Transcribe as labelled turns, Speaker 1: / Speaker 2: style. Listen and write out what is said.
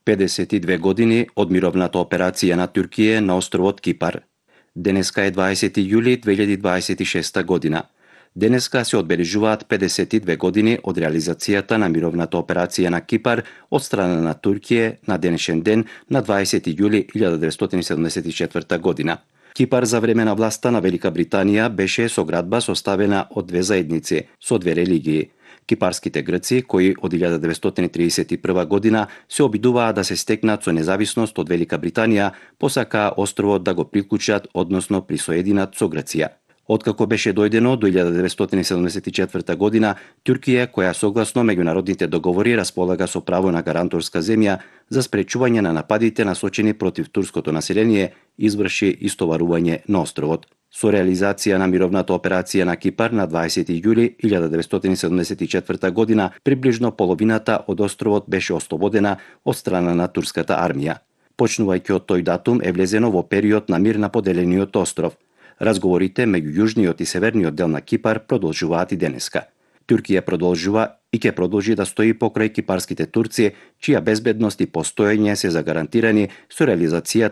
Speaker 1: 52 години од мировната операција на Туркија на островот Кипар. Денеска е 20 јули 2026 година. Денеска се одбележуваат 52 години од реализацијата на мировната операција на Кипар од страна на Туркија на денешен ден на 20 јули 1974 година. Кипар за време на власта на Велика Британија беше соградба составена од две заедници со две религии. Кипарските грци, кои од 1931 година се обидуваа да се стекнат со независност од Велика Британија, посакаа островот да го приклучат, односно присоединат со Грција. Откако беше дојдено до 1974 година, Туркија, која согласно меѓународните договори располага со право на гаранторска земја за спречување на нападите насочени против турското население, изврши истоварување на островот. Со реализација на мировната операција на Кипар на 20 јули 1974 година, приближно половината од островот беше ослободена од страна на турската армија. Почнувајќи од тој датум е влезено во период на мир на поделениот остров. Разговорите меѓу јужниот и северниот дел на Кипар продолжуваат и денеска. Туркија продолжува и ќе продолжи да стои покрај кипарските турци, чија безбедност и постоење се загарантирани со реализацијата